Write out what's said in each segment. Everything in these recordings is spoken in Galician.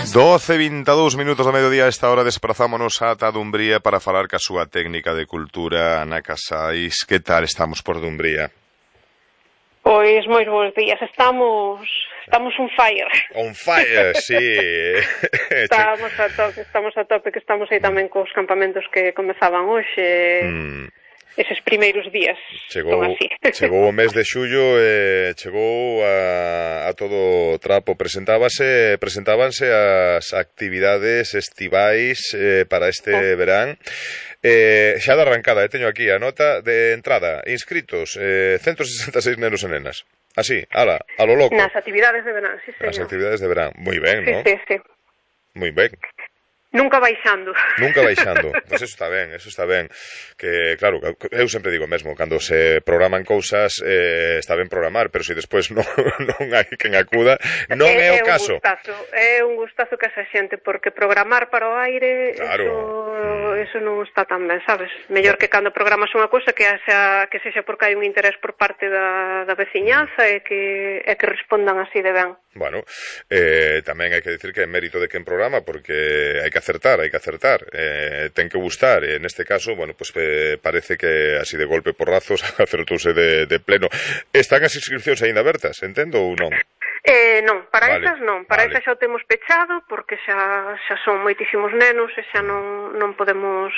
12:22 do mediodía. A esta hora desprazámonos ata Dumbría para falar ca súa técnica de cultura, Ana Casais. Que tal estamos por Dumbría? Pois moi bons días, estamos on fire. On fire, sí. Estamos a tope, que estamos aí tamén cos campamentos que comezaban hoxe. Eses primeiros días chegou o mes de xullo e chegou a todo trapo. Presentábanse as actividades estivais para este verán. Xa de arrancada, teño aquí a nota de entrada. Inscritos 166 nenos e nenas. Así, ala, a lo loco. Nas actividades de verán, sí, señor. Nas actividades de verán. Moi ben, non? Sí. Moi ben. Nunca baixando. Pois eso está ben. Que, claro, eu sempre digo mesmo, cando se programan cousas está ben programar, pero se despois non hai quen acuda, non é o caso. É un gustazo que esa xente, porque programar para o aire, claro, eso non está tan ben, sabes? Mellor que cando programas unha cousa que sexa porque hai un interés por parte da veciñanza e que respondan así de ben. Bueno, tamén hai que dicir que é mérito de quen programa, porque hai que acertar, ten que gustar, e neste caso, bueno, pues parece que así de golpe porrazos acertouse de pleno. Están as inscripcións aínda abertas, entendo ou non? Non, para esas non, para esas xa o temos pechado, porque xa son moitísimos nenos e xa non podemos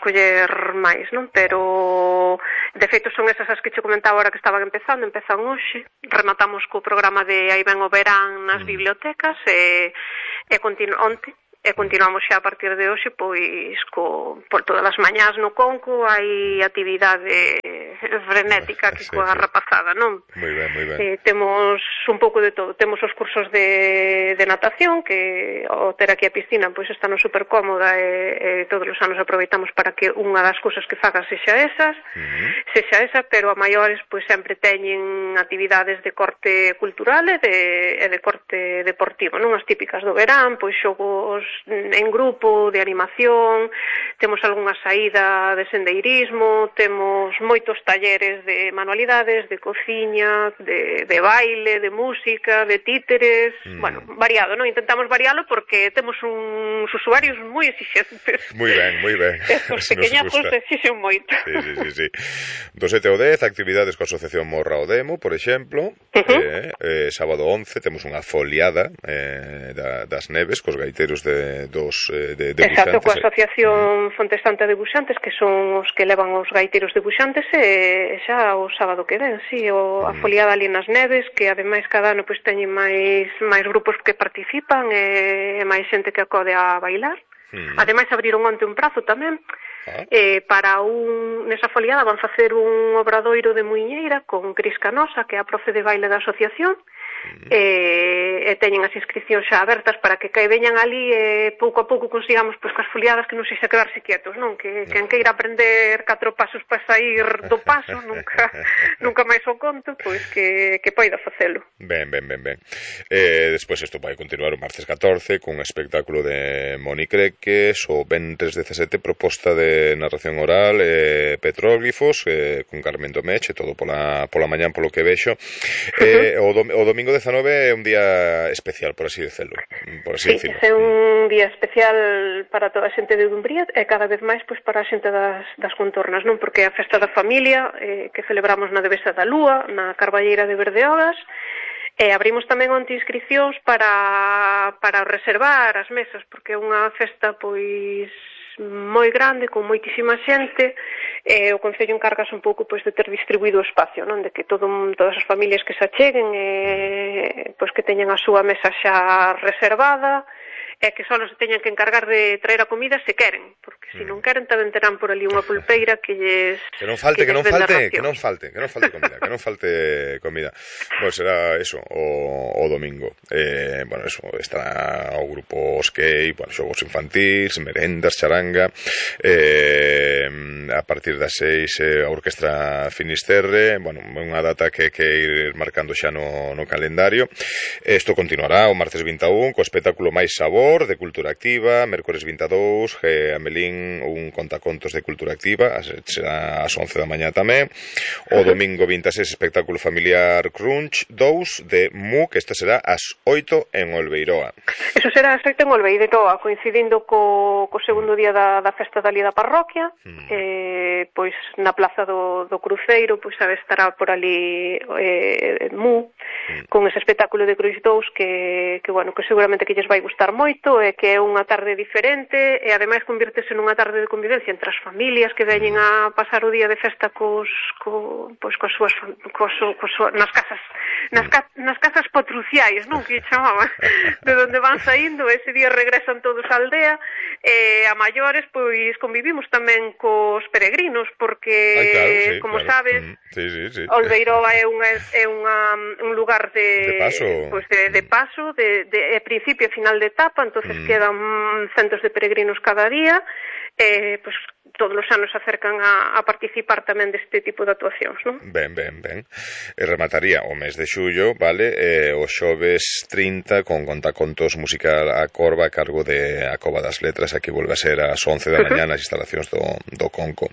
coller máis, non? Pero de feito son esas as que che comentaba ahora que estaban empezan hoxe. Rematamos co programa de Aí ven o verán nas bibliotecas e continuamos xa a partir de hoxe, pois por todas as mañás no Conco hai actividade frenética aquí coa rapazada, non? Moi ben. Temos un pouco de todo. Temos os cursos de natación, que ao ter aquí a piscina pois está no super cómoda e todos os anos aproveitamos para que unha das cousas que fagan sexa esa, pero a maiores pois sempre teñen actividades de corte cultural e de corte deportivo, non? As típicas do verán, pois xogos en grupo, de animación, temos algunha saída de sendeirismo, temos moitos talleres de manualidades, de cociña, de baile, de música, de títeres, bueno, variado, non? Intentamos varialo porque temos uns usuarios moi exixentes. Moi ben. Estos pequeñazos exixen moito. Sí. Do 7 ao 10, actividades coa Asociación Morra o Demo, por exemplo. Sábado 11 temos unha foliada das neves cos gaiteros de debuxantes. Exacto, coa Asociación Fonte Santa de Debuxantes, que son os que levan os gaiteros debuxantes, e xa o sábado que ven, a foliada ali nas neves, que ademais cada ano pois teñen máis grupos que participan e máis xente que acode a bailar. Ademais abriron onte un prazo tamén para nesa foliada van facer un obradoiro de muiñeira con Cris Canosa, que é a profe de baile da asociación, e teñen as inscripcións xa abertas para que veñan ali e pouco a pouco consigamos pois cas foliadas que non sexa quedarse quietos, non? Que quen queira aprender 4 pasos para sair do paso nunca máis o conto, pois que poida facelo. Ben. Despois isto vai continuar o martes 14 cun espectáculo de Moni Creques, o ventres 17 proposta de narración oral e petróglifos con Carmen Domeche, todo pola mañán polo que vexo. O domingo 19 é un día especial, por así decirlo. É un día especial para toda a xente de Dumbría e cada vez máis pois para a xente das contornas, non? Porque é a festa da familia que celebramos na Devesa da Lúa, na Carballeira de Berdeogas, e abrimos tamén onte inscripcións para reservar as mesas, porque é unha festa pois moi grande, con moitísima xente, e o Concello encárgase un pouco pois de ter distribuído o espacio, non? De que todas as familias que se acheguen pois que teñan a súa mesa xa reservada e que só se teñan que encargar de traer a comida se queren, porque se non queren tamén terán por ali unha pulpeira que lles que non falte comida. Bueno, será eso o domingo. Bueno, eso, estará o grupo Skate, bueno, xogos infantís, merendas, charanga, a partir das 6 a Orquestra Finisterre, bueno, unha data que ir marcando xa no calendario. Isto continuará o martes 21 co espectáculo máis sabor Labor, de Cultura Activa, mércores 22, Amelín, un contacontos de Cultura Activa, será ás 11 da mañá tamén. O domingo 26, espectáculo familiar Crunch 2 de MU, que esta será ás 8 en Olveiroa. Eso será exacto en Olveiroa, coincidindo co segundo día da festa da da parroquia. Pois na plaza do Cruceiro, pois estará por ali MU, con ese espectáculo de Crunch 2 que seguramente que lles vai gustar moito, e que é unha tarde diferente, e ademais convirtese nunha tarde de convivencia entre as familias que veñen a pasar o día de festa nas casas patruciais, non? Que chamaban, de onde van saindo, ese día regresan todos á aldea, e a maiores pois convivimos tamén cos peregrinos, porque como sabes, Olveiroa é un lugar de paso, de principio e final de etapa, entonces quedan centos de peregrinos cada día, pois todos os anos se acercan a participar tamén deste tipo de actuacións, non? Ben. E remataría o mes de xullo, vale, o xoves 30 con contacontos musical a Corva a cargo de A Cova das Letras, aquí volve a ser ás 11 da mañá nas instalacións do Conco.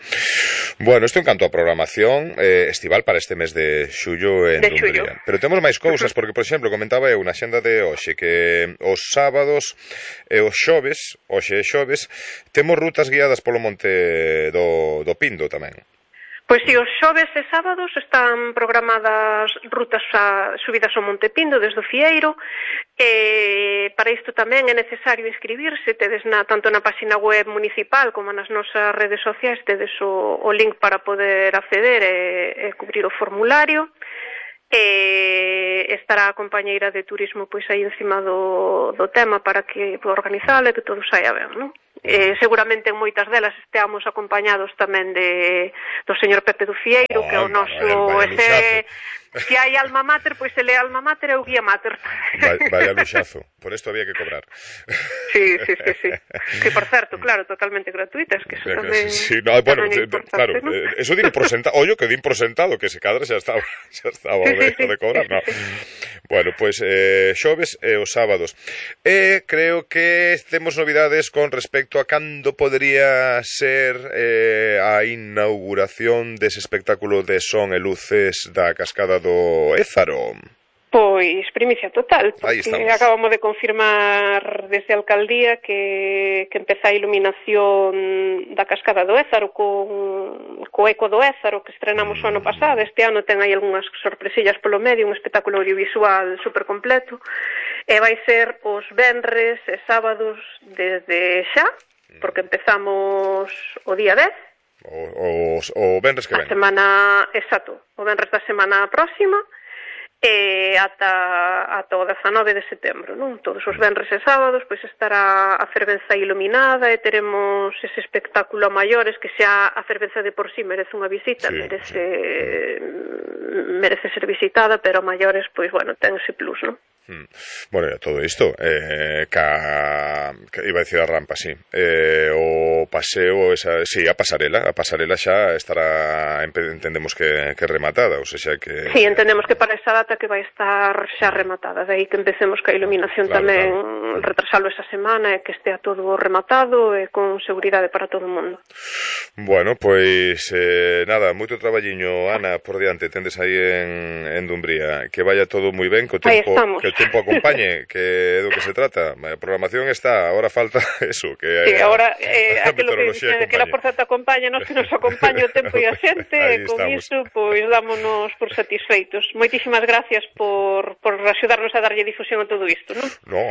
Bueno, isto en canto a programación estival para este mes de xullo en Dumbría. Pero temos máis cousas, porque, por exemplo, comentaba eu na xenda de hoxe que os sábados e os xoves, hoxe e xoves, temos rutas guiadas polo monte do Pindo tamén. Pois si, os xoves e sábados están programadas rutas subidas ao Monte Pindo desde o Fieiro, e para isto tamén é necesario inscribirse, tedes tanto na página web municipal como nas nosas redes sociais, tedes o link para poder acceder e cubrir o formulario. Estará a compañeira de turismo pois aí encima do tema para que poda organizala e que todo saia ben, non? Seguramente en moitas delas esteamos acompañados tamén do señor Pepe do Fieiro, que é o noso se hai alma mater, pois ele é alma mater e o guía mater. Vaya luxazo, por isto había que cobrar. Sí. Que, por certo, claro, totalmente gratuitas, que eso tamén... Sí, no, bueno, claro, ¿no? Eso din por sentado, ollo que din por sentado, que se cadra xa estaba de cobrar, no. Bueno, pois xoves e os sábados. Creo que temos novidades con respecto a cando podería ser a inauguración dese espectáculo de son e luces da Cascada do Ézaro. Pois, primicia total, porque acabamos de confirmar desde a alcaldía que empeza a iluminación da Cascada do Ézaro co Eco do Ézaro, que estrenamos o ano pasado. Este ano ten aí algunhas sorpresillas polo medio, un espectáculo audiovisual super completo, e vai ser os venres e sábados desde xa, porque empezamos o día 10, o venres que ven. O venres da semana próxima, e ata o 19 de setembro, non? Todos os venres e sábados pois estará a fervenza iluminada e teremos ese espectáculo a maiores que xa a fervenza de por sí merece unha visita, merece ser visitada, pero a maiores pois, bueno, ten ese plus, non? Bueno, era todo isto iba a decir a rampa, sí, o paseo a pasarela xa estará, entendemos que rematada, ou seja que... Sí, entendemos que para esa data que vai estar xa rematada, de aí que empecemos ca iluminación tamén retrasalo esa semana e que estea todo rematado e con seguridade para todo o mundo. Bueno, pois nada, moito traballiño, Ana, por diante, tendes aí en Dumbría, que vaya todo moi ben, que o tempo acompañe, que é do que se trata. A programación está, agora falta eso, que sí, agora aquilo que la forza te acompaña, nos que nos acompañe o tempo e a xente, e con iso pois dámonos por satisfeitos. Moitísimas gracias por axudarnos a darlle difusión a todo isto, non? No,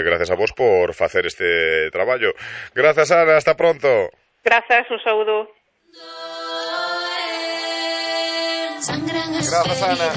gracias a vos por facer este traballo. Grazas, Ana, hasta pronto. Grazas, un saúdo. Gracias, Ana.